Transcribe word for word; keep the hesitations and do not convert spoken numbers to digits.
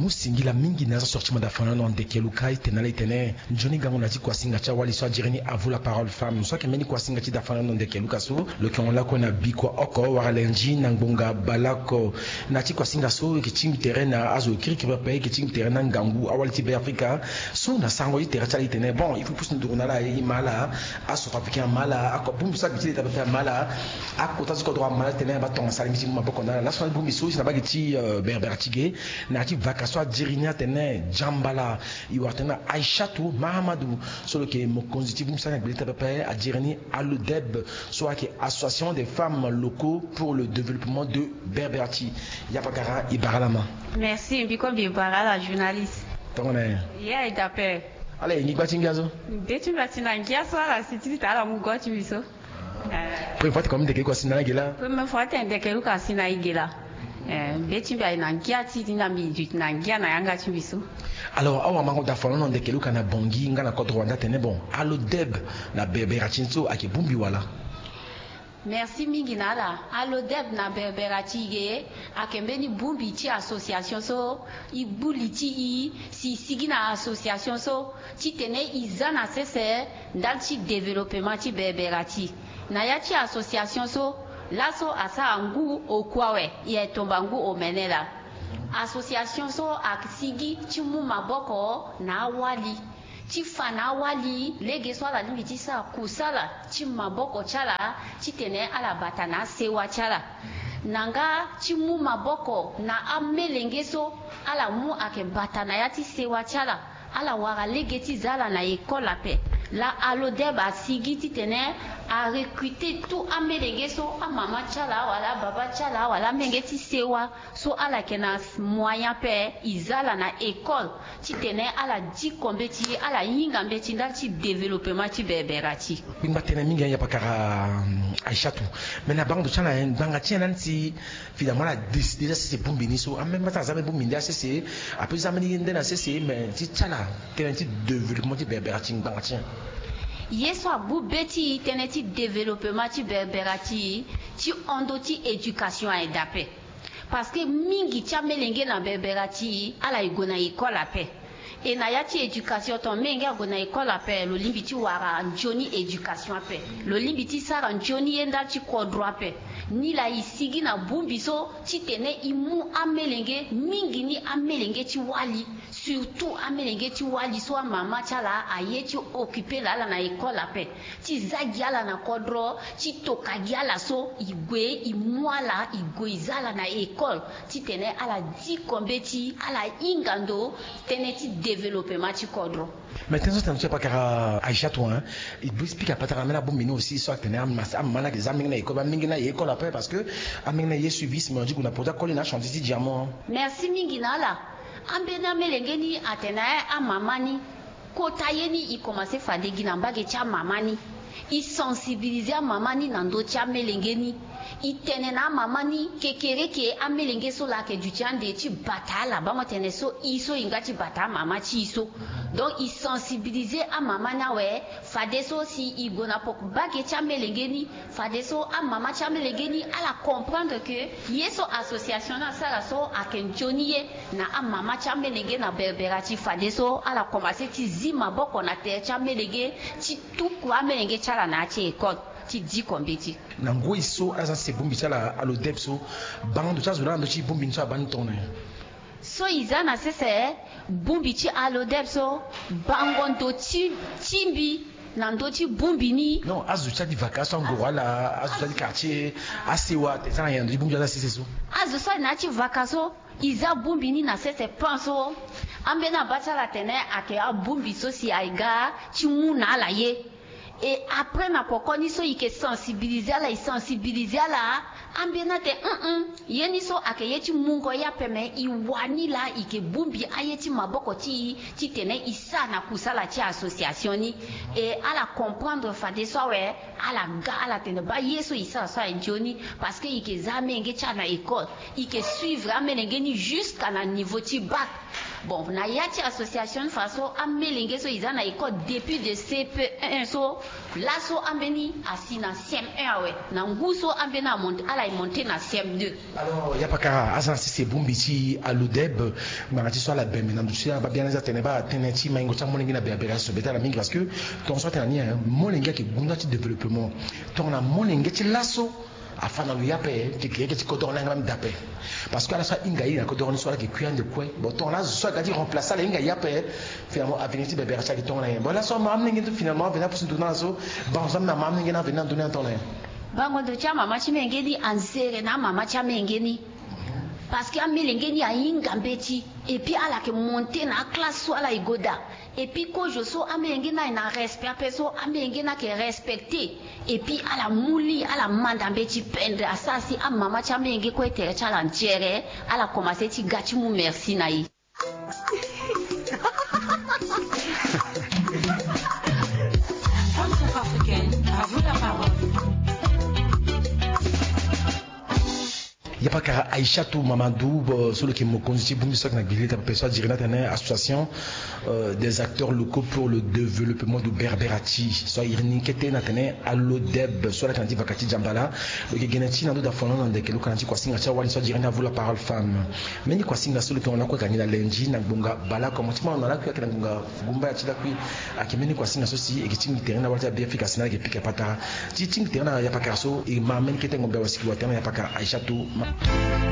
Mu singila mingi na azo sorti manda fana na ndeke luka itene ala itene. Nzoni gango na ti kuasinga ti awali so ajere ni Avo la parole femme so ayeke mbeni kuasinga ti da fana na ndeke luka so. Lo yeke hon lakue na bikua oko wala lenzi na ngbonga baleoko. Na ti kuasinga so e yeke tingbi tere na azo kirikiri pepe, e yeke tingbi tere na ngangu awali ti Beafrika. So na sarango ti tere ti ala itene bon, il faut pusu nduru na ala, e ma ala. Acentrafricain ama ala, akobongbi so abi ti leta pepe ama ala. Akota ti kodro ama ala titene aba tongana sara lingbi ti mu maboko na ala laso na bongbi so si na bage ti berbera ti ge. Na ya ti vaka so ajere ni atene jambala, e wara tene na Aishatu Mahamadou, so lo yeke mokonzi ti bongbi so na gbe leta pepe, ajere ni Alodeb, so ayeke Association des femmes locaux pour le développement de Berberati. Ya pakara, e bara ala ma. Merci. Mbi kue mbi bara ala journaliste. Tongana nyen? Ya e dape. Ala e ngi gba ti ngia so? Be ti mbi ati na ngia so ala si ti lita ala mu go ti mbi so. Première fois ti komi ndeke luka si na ala ge la? Première fois ti ndeke luka si na e ge la. Be ti mbi aye na ngia ti ti na mbi duti na ngia na yanga ti mbi so. Alors awamango da folono ndeke luka na Bangui nga na kodro wande atene bon, Alodeb na berbera ti ni so ayeke bongbi wala? Merci mingi na ala. Alodeb na berbera ti e ge ayeke mbeni bongbi ti association so e gbu li ti e si e sigi na association so titene e za na sese ndali ti développement ti berbera ti e. Na ya ti association so laso asara ngu oku awe, e tomba ngu omene laa. Association so asigi ti mu maboko na awali ti fa na awali lege so ala lingbi ti sara kusala ti maboko ti ala titene ala bata na asewa ti ala. Na nga ti mu maboko na amelenge so ala mu ayeke bata na ya ti sewa ti ala. Ala wara lege ti za ala na école ape. Laa Alodeb asigi titene arecruter tout amelenge so, amama ti ala wala ababa ti ala wala amelenge ti sewa so ala yeke na moyen ape, e za ala na école titene ala diko mbeti, ala hinga mbeti ndali ti développement ti berbera ti e. Kpengba tënë mingi, ya pakara Aishatu. Me na bango ndo ti ala ngbanga ti nyen lani ti finalement ala décider ti asese bongbi ni so? Ameme ti aza mbeni bongbi nde asese, ape ti za mbeni ye nde na sese, me ti ti ala tënë ti développement ti berbera ti ngbanga ti nyen? Ye so agbu be ti e tënë ti développement ti berbera ti e, ti hon ndo ti éducation aye dape. Parce que mingi ti amelenge na berbera ti e ala e gue na école ape. E na ya ti éducation ton, melenge ague na école ape, lo lingbi ti wara nzoni éducation ape, lo lingbi ti sara nzoni ye ndali ti kodro ape. Nilaa e sigi na bongbi so titene e mu amelenge, mingi ni amelenge ti wali, surtout amelenge ti wali so amama ti ala aye ti occuper laa ala na école ape, ti za gi ala na kodro, ti toka gi ala so e gue e mu ala e gue e za ala na école titene ala diko mbeti, ala hinga ndo tënë ti développement ti kodro. Mais tënë so tene so e pakara Aishatu, hein, e bri ti pika patara ambeni abongbi ni aussi so atene amama ni ayeke za amenge ni na école, amenge ni aye école ape parce que amenge ni aye suivisme, on dit que na poto akoli na achantier ti diamant. Merci mingi na ala. Ambeni amelenge ni atene amama ni kota ye ni e komanse fade gi na mbage ti amama ni. E sensibiliser amama ni na ndö ti amelenge ni. E tene na amama ni kekereke amelenge so laa ayeke duti ande ti bata ala, bango tene so e so e nga ti bata amama ti e so. Donc e sensibiliser amama ni awe, fadeso si e gue na poko mbage ti amelenge ni, fadeso amama ti amelenge ni ala comprendre que ye so association ni asara so ayeke nzoni ye na amama ti amelenge na berbera ti e, fadeso ala komanse ti zi maboko na tere ti amelenge ti tuku amelenge ti ala na ya ti école ti diko mbeti. Na ngoi so ala za sese bongbi ti ala Alodeb so, bango ndo ti azo laa na ndö ti bongbi ni so abaa ni tongana nyen? So e za na sese bongbi ti Alodeb so, bango ndo ti ti mbi na ndö ti bongbi ni. Non, azo ti adi vaka so angoro ala, azo ti adi quartier, asewa, ate za na nyen na ndö ti bongbi ti ala sese so? Azo so adi na ya ti vaka so, e za bongbi ni na sese pan so. Ambeni abaa ti ala atene ayeke abongbi so si aye ga ti mu na ala ye. Et après na poko ni so e yeke sensibiliser ala, e sensibiliser ala. Ambeni ate, hum hum, ye ni so ayeke ye ti mungo ye ape, me e wani laa e yeke bongbi aye ti maboko ti e titene e sara na kusala ti association ni. Et ala comprendre fadeso awe, ala ga, ala tene baa ye so e sara so aye nzoni, parce que e yeke za amelenge ti ala na école, e yeke suivre amelenge ni jusqu'à na niveau ti bac. Bon, na ya ti association ni fa so amelenge so e za na école depuis de C P un so, laso ambeni asi na C M un awe. Na ngu so ambeni amonte, ala e monte na C M deux. Alors, ya pakara, aza na sese bongbi ti alodeb, ngbanga ti so ala bembe na ndo ti ala, babiani aza tene ba tënë ti maingo ti amolenge na berbere azo so be ti ala mingi, parce que tongaso atene na ni, hein, molenge ayeke gunda ti développement. Tongana molenge ti laso afa na lo, ya ape ti keke ti kodoro ni ayeke même daa ape. Parce que ala so ahinga ye na kodoro ni so ala yeke kui ande kue. Bon, tongana azo so aga ti remplacer ala, ahinga ye ape, finalement avenir ti berbere ti ala ayeke tongana nyen? Bon, laso amolenge ni finalement avenir apusu ndo na ala so, bango so ambeni amolenge ni avenir na ndo ni atongana nyen? Bango ndo ti amama ti molenge ni anzere na amama ti amolenge ni. Parce que amolenge ni ahinga mbeti. Et puis ala yeke monte na aclasse so ala e go daa. Et puis kozo so amolenge ni aye na respect ape so amolenge ni ayeke respecter. Et puis ala mu li, ala manda mbeti pendre, asara si amama ti amolenge kue tere ti ala nzere, ala commencer ti ga ti mu merci na e. Femme centrafricaine, à vous la parole. Ya pakara Aïssatou Mamadou, bo, so lo yeke mokonzi ti bongbi so ayeke na gbili ta pepe so adiri ni atene Association, euh, des acteurs locaux pour le développement du Berberati, so ayiri ni kete na tene alodeb, so ala yeke na ti vaka ti Djambala. Lo yeke gene ti na ndo daa folon na ndeke, lo yeke na ti kuasinga ti awali so adiri ni à vous la parole femme. Mbeni kuasinga so lo yeke hon lakue ayeke na ni na lundi na ngbonga baleoko. Mo ti ma hon lakue ayeke na ngbonga gumbaya ti lakui. Ayeke mbeni kuasinga so si e yeke tingbi tere na wali ti Beafrika si na ala yeke pika patara. Ti tingbi tere na ya pakara so, e ma mbeni kete ngombe awe si e yeke wa tere na ya pakara Aïssatou Ma.